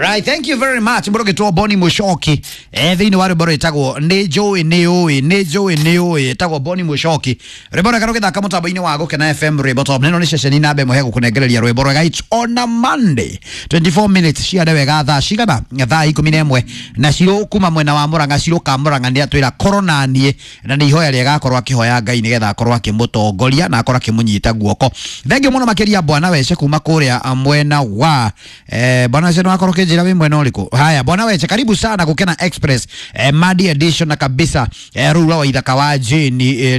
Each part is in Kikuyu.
Right, thank you very much. Mũrũgĩtwo Boni Mũcoki thĩinĩ wa rwĩmbo rwĩtagwo nĩ njũĩ nĩ ũĩ nĩ njũĩ nĩ ũĩ, ĩtagwo Boni Mũcoki, rwĩmbo rwega rũgĩthaka mũtambo-inĩ wa Gũkena FM rwĩmbo top. Nĩno nĩ ceceni namba ĩmwe he gũkũnengereria rwĩmbo rwega. It's on a Monday 24 minutes ciare wega thaa cigana, thaa 11 na cirũ kuma mwena wa Murang'a, cirũ ka Murang'a nĩ atwĩra korwo na niĩ, na nĩ ihoya rĩega akorwo akĩhoya Ngai nĩgetha akorwo akĩmũtongoria na akorwo akĩmũnyita guoko. Thengiũ mũno makĩria bwana Wece kuma kũrĩa mwena wa bwana Wece, nĩwakorwo ũkĩnjĩra wĩ mwena ũrĩkũ? Haya bwana Wece, karibu sana Gũkena Express Madi edition na kabisa rũu rwa Waithaka wa Jane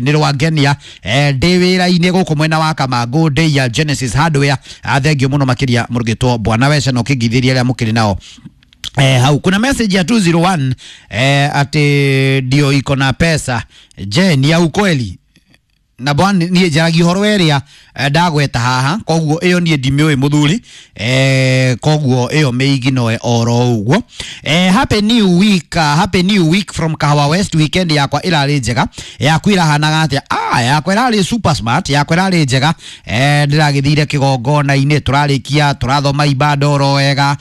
nĩ rwangenia ndĩ wĩra-inĩ gũkũ mwena wa Kamangũ ndĩ ya Genesis Hardware. Thengiũ mũno makĩria mũrũgĩtwo bwana Wece na ũkĩngithĩria arĩa mũkĩrĩ nao hau. Kuna message ya 201 ati ndio iko na pesa. Je, ni ya ukweli? Na bwana niĩ njaragia ũhoro ĩrĩa ndagweta haha, koguo ĩyo niĩ ndimĩũĩ mũthuri, koguo ĩyo mĩiginoe oro ũguo. Happy new week, happy new week from Kahawa West. Weekend yakwa ĩrarĩ njega, yaku ĩrahanaga atĩa? Yakwa ĩrarĩ super smart, yakwa ĩrarĩ njega. Ndĩragĩthire kĩgongona-inĩ, tũrarĩkia tũrathoma ibada oro wega,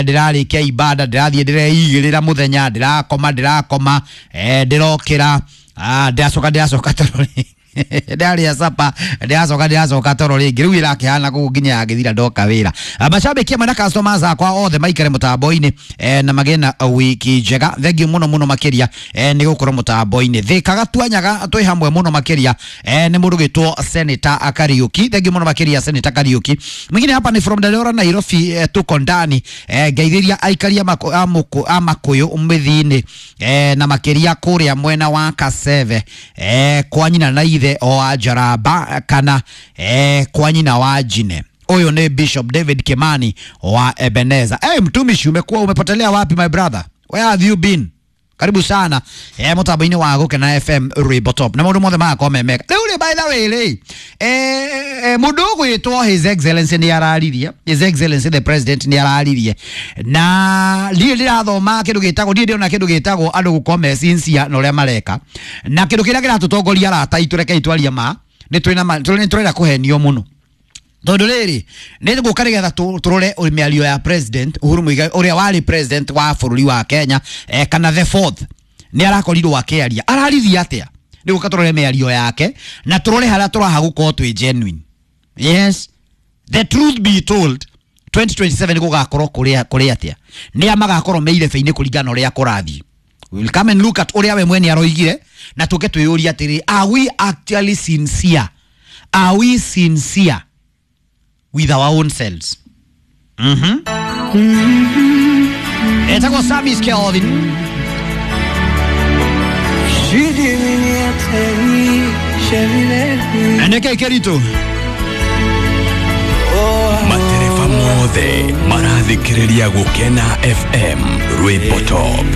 ndĩrarĩkia ibada ndĩrathiĩ ndĩreigĩrĩra mũthenya, ndĩrakoma ndĩrakoma, ndĩrokĩra, ndĩracoka toro rĩngĩ, ndarĩa sapa, ndĩracoka toro rĩngĩ. Rĩu ĩrakĩhana kũu nginya yagĩthira ndoka wĩra. Mashabiki amwe na customers akwa othe maikare mũtambo-inĩ na magĩe na wiki njega. Thengiũ mũno mũno makĩria nĩ gũkorwo mũtambo-inĩ. Thĩkaga tuanyaga twĩ hamwe mũno makĩria nĩ mũndũ gĩtwo Senator Kariuki. Thengiũ mũno makĩria Senator Kariuki. Mwingine hapa ni from Dandora Nairobi, tuko ndani, ngeithĩria aikaria a Makũyũ mĩthi-inĩ na makĩria kũrĩa mwena wa Kaseve, kwa nyina na ithe o wa Njaramba kana kwa nyina wa Jine. Huyo ni Bishop David Kimani wa Ebeneza. Hey, mtumishi, umekuwa umepotelea wapi my brother? Where have you been? Karibu sana mũtambo-inĩ wa Gũkena FM rwĩmbo top na maũndũ mothe magakorwo me mega. Rĩu rĩ, by the way rĩ, mũndũ ũgwĩtwo His Excellency nĩ araririe, His Excellency the President nĩ araririe, na ndirĩ ndĩrathoma kĩndũ gĩtagwo, ndirĩ ndĩrona kĩndũ gĩtagwo andũ gũkorwo me sincere na ũrĩa mareka, na kĩndũ kĩrĩa kĩratũtongoria arata aitũ, rekei twarie ma, nĩ tũrenda kũhenio mũno, tondũ rĩrĩ nĩ ngũka nĩgetha tũrore mĩario ya President Uhuru Muigai ũrĩa warĩ president wa bũrũri wa Kenya, kana the fourth, nĩ arakorirwo akĩaria. Araririe atĩa? Nĩ gũka tũrore mĩario yake na tũrore harĩa tũraha gũkorwo twĩ genuine. Yes, the truth be told, 2027 gũgakorwo kũrĩ atĩa, nĩa magakorwo me irebe-inĩ kũringana na ũrĩa kũrathiĩ. We will come and look at ũrĩa we mwene aroigire na tũke twĩyũrie atĩrĩ, are we actually sincere? Are we sincere with our own selves? Etagwo Sami Kelvin. Nĩkĩ kĩritũ? Matereba mothe marathikĩrĩria Gũkena FM rwĩmbo top.